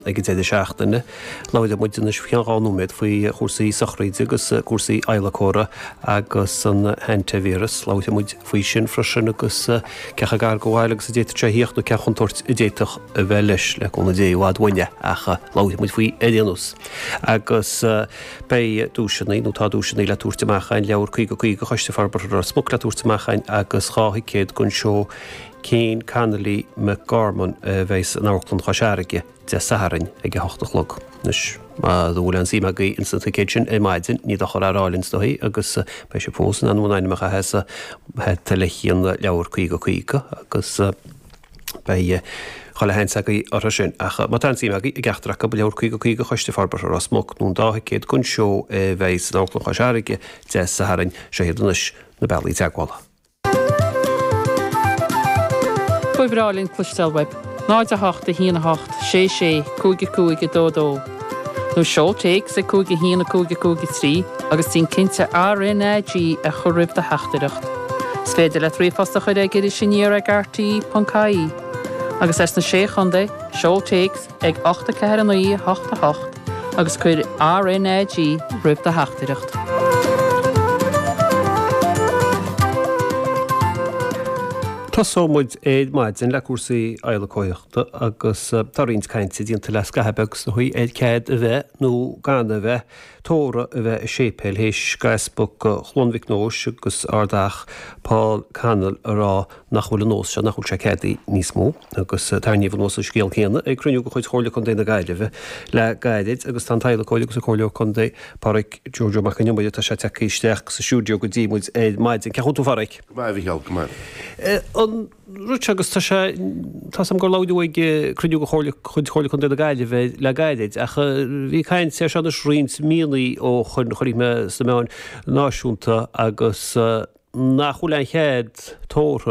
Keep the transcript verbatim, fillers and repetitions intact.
Ag an deireadh seachtaine, labhróidh muid anois faoi cheann dhá nóiméad faoi chúrsaí sochraide agus cúrsaí adhlacóra agus an hantavirus. Labhróidh muid faoi sin freisin agus cé chomh gar do bhaile agus a d'fhéadfadh sé a thíocht nó cén chontúirt a d'fhéadfadh a bheith leis, le cúnamh Dé i bhfad uainne ach labhróidh muid faoi ar aon nós. Agus beidh duaiseanna, nó tá duaiseanna le tabhairt amach againn, leabhar caoga caoga Choiste Forbartha Ros Muc le tabhairt amach againn agus dhá thicéad don seó Cian Connolly McGorman a bheidh in Amharclann Chois Fharraige Dé Sathairn ag a hocht a chlog. Anois, má bhfuil aon suim agaibh ins na ticéid sin ar maidin, ní dochar a rá linn is dóigh agus beidh sibh fós in ann bhur n-ainm a chaitheamh sa hata le haghaidh an leabhar caoga caoga agus beidh chuile sheans agaibh orthu sin. Ach má tá aon suim agaibh i gceachtar acu, leabhar caoga caoga Choiste Forbartha Ros Muc nó an dá thicéad don seó a bheidh san Amharclann Chois Fharraige Dé Sathairn, seo iad anois na bealaí teagmhála. Ba bhreá linn cloisteáil uaibh. náid a hocht a haon a hocht sé sé cúig a cúig a dó dó. Nó seol téacs ag cúig a haon a cúig a cúig a trí agus déan cinnte R N A G a chur roimh do theachtaireacht. Is féidir leat ríomhphost a chur ag Iris Aniar ag R T E ponc I E. Agus as na Sé Chontae, seol téacs ag ocht a ceathair a naoi a hocht a hocht agus cuir R N A G roimh do theachtaireacht. Tosóidh muid ar maidin le cúrsaí adhlacóireachta agus tá roinnt cainte déanta le scaitheamh beag is dóigh ar cead a bheith nó gan a bheith tórramh a bheith i séipéal théis d'Easpag Chluain Mhic Nóis agus Ard Fheach Paul Connell a rá nach bhfuil an nós seo, nach bhfuil sé ceadaithe níos mó. Agus tarraingíodh anuas an scéal céanna ag cruinniú de chuid Chomhairle Contae na Gaillimhe le gairid agus tá an t-adhlacóir agus an Comhairleoir Contae Páraic Joe Joe Mac an Iomaire, tá sé tagtha isteach sa stiúideo go dtí muid ar maidin. Cén chaoi a bhfuil tú a Pháraic? Go maith, a Mhícheál, go maith. An rud seo agus tá sé, tá 's agam gur labhraíodh ag cruinniú de Chomhairle, chuid Chomhairle Contae na Gaillimhe le gairid ach bhí caint air seo anois roinnt míonna ó shoin, chonaic mé sna meáin náisiúnta agus nach bhfuil aon chead tórramh